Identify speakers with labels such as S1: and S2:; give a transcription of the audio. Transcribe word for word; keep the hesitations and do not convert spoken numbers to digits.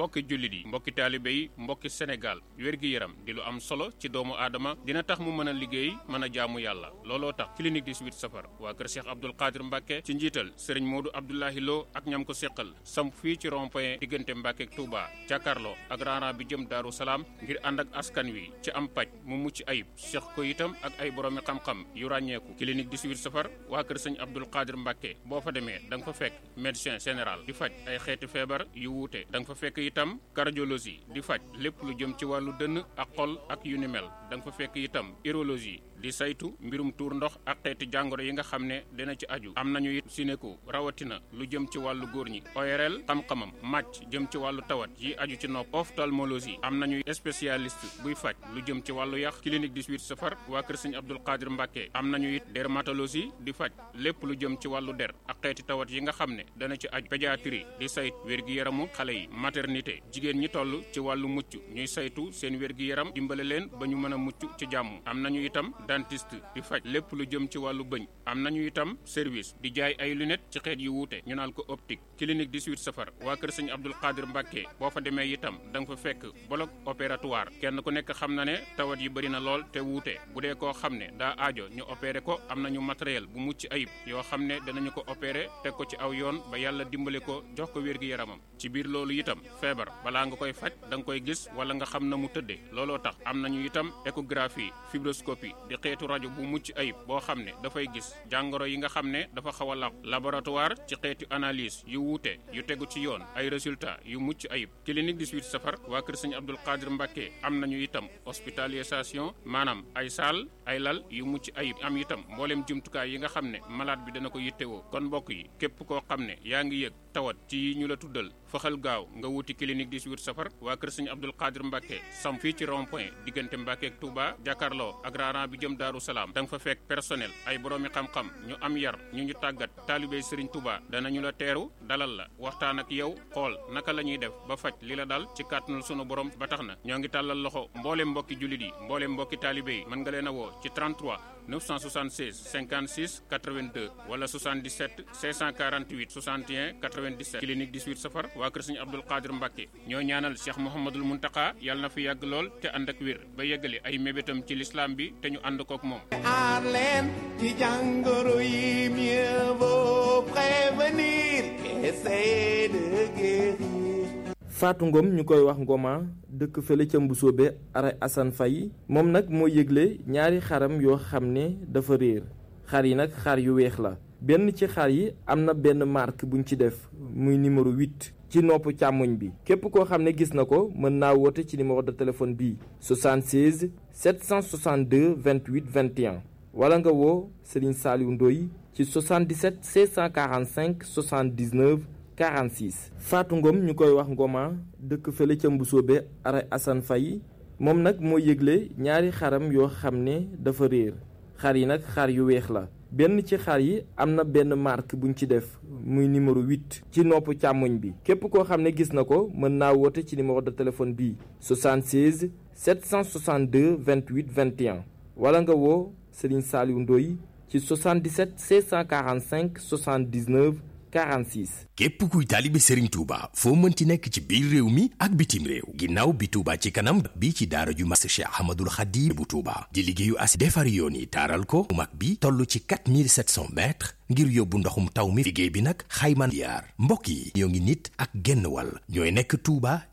S1: mbokki jullit yi mbokki taalibe yi mbokki Sénégal wér-gi-yaram di lu am solo ci doomu aadama dina tax mu mën a liggéey mën a jaamu yàlla looloo tax clinique dix-huit safar waa kër Cheikh Abdoul Qadir Mbacke ci njiital Serigne Modou Abdoulahi Lo ak ñam ko seqal samp fii ci rond-point diggante Mbacke ak Touba jàkkaarloo ak raana bi jëm Daaru Salaam ngir ànd ak askan wi ci am paj mu mucc ayib seq ko itam ak ay boroomi xam-xam yu ràññeeku clinique dix-huit safar waa kër Serigne Abdoul Qadir Mbacke boo fa demee da nga fa fekk médecin général di faj ay xeeti feebar yu wuute da nga fa fekk itam cardiologie di faj lépp lu jëm ci wàllu dënn ak xol ak yu ni mel da nga fa fekk itam urologie di saytu mbirum tuur ndox ak xeeti jàngoro yi nga xam ne dina ci aju am nañu it sinéko rawatina lu jëm ci wàllu góor ñi O R L xam-xamam màcc jëm ci wàllu tawat yi aju ci nopp ophtalmologie am nañu spécialiste buy faj lu jëm ci wàllu yax clinique dix-huit safar waa kër Serigne Abdoul Qadir Mbacke am nañu it dermatologie di faj lépp lu jëm ci wàllu der ak xeeti tawat yi nga xam ne dana ci aju pédiatrie di sayt wér-gi-yaramu xale yi maternité jigéen ñi toll ci wàllu mucc ñuy saytu seen wér-gi-yaram dimbale leen ba ñu mën a mucc ci jàmm am nañu itam dentiste di faj lépp lu jëm ci wàllu bëñ am nañu itam service di jaay ay lunettes ci xeet yu wuute ñu naan ko optique clinique dix-huit safar waa kër Serigne Abdoul Qadir Mbacke boo fa demee itam da nga fa fekk bloc opératoire kenn ku nekk xam na ne tawat yi bëri na lool te wuute bu dee koo xam ne daa aajo ñu opéré ko am nañu matériel bu mucc ayib yoo xam ne danañu ko opéré teg ko ci aw yoon ba yàlla dimbale ko jox ko wér-gi-yaramam ci biir loolu itam feebar balaa nga koy faj da nga koy gis wala nga xam na mu tëddee looloo tax am nañu itam échographie fibroscopie di xeetu rajo bu mucc ayib boo xam ne dafay gis jàngoro yi nga xam ne dafa xaw a laq laboratoire ci xeetu analyse yu wuute yu tegu ci yoon ay résultats yu mucc ayib clinique dix-huit safar waa kër Serigne Abdoul Qadir Mbacke am nañu itam hospitalisation maanaam ay saal ay lal yu mucc ayib am itam mboolem jumtukaay yi nga xam ne malade bi dana ko yittewoo kon mbokk yi képp koo xam ne yaa ngi yëg tawat ci yi ñu la tuddal faxal gaaw nga wuti clinique dix-huit safar waa kër Serigne Abdoul Qadir Mbacke sam fii ci rond point diggante Mbacke ak Touba jàkkaarloo ak raana bi jëm Daaru Salaam da nga fa fekk personnel ay boroomi xam-xam ñu am yar ñu ñu tàggat taalibey Serigne Touba danañu la teeru dalal la waxtaan ak yow xool naka la ñuy def ba faj li la dal ci kàttanul sunu borom ba tax na ñoo ngi tàllal loxo mboolem mbokki jullit yi mboolem mbokki taalibe yi mën nga leen a woo ci trente-trois neuf cent soixante-seize cinquante-six quatre-vingt-deux wala soixante-dix-sept cinq cent quarante-huit soixante et un quatre-vingt-dix-sept clinique dix-huit safar waa kër Serigne Abdoul Qadir Mbacke ñoo ñaanal Cheikh Mouhamadoul Mountakha yàlla na fi yàgg lool te ànd ak wér ba yeggali ay mébétam ci l'islam bi te ñu ànd kook moom.
S2: aar leen ci jàngoro yi mieux vaut prévenir qu'essayer de guérir.
S3: Fatou Ngom ñu koy wax Ngoma dëkk fële ca Mbusoobe ara Assane Faye moom nag moo yëgle ñaari xaram yoo xam ne dafa réer xar yi nag xar yu weex la benn ci xar yi am na benn marque buñ ci def muy numéro huit ci nopp càmmoñ bi képp koo xam ne gis na ko mën naa woote ci numéro de téléphone bii soixante-seize sept cent soixante-deux vingt-huit vingt et un wala nga woo Serigne Saliou Ndoye ci soixante-dix-sept six cent quarante-cinq soixante-dix-neuf quarante-six Fatou Ngom ñu koy wax Ngoma dëkk fële ca Mbusoobe ara Assane Faye moom nag moo yëgle ñaari xaram yoo xam ne dafa réer xar yi nag xar yu weex la benn ci xar yi am na benn marque buñ ci def muy numéro huit ci nopp càmmoñ bi képp koo xam ne gis na ko mën naa woote ci numéro de téléphone bii soixante-seize sept cent soixante-deux vingt-huit vingt et un wala nga woo Serigne Saliou Ndoye ci soixante-dix-sept six cent quarante-cinq soixante-dix-neuf quarante-six.
S4: képp kuy taalibe Serigne Touba foo mënti nekk ci biir réew mi ak bitim réew ginnaaw bi Touba ci kanam bi ci daara ju mag Cheikh Ahmadoul Khadim bu Touba di liggéeyu as defar yoon yi taaral ko mag bi toll ci quatre mille sept cents mètres ngir yóbbu ndoxum taw mi liggéey bi nag xayma yaar mbokk yi ñoo ngi nit ak genn wàll ñooy nekk Touba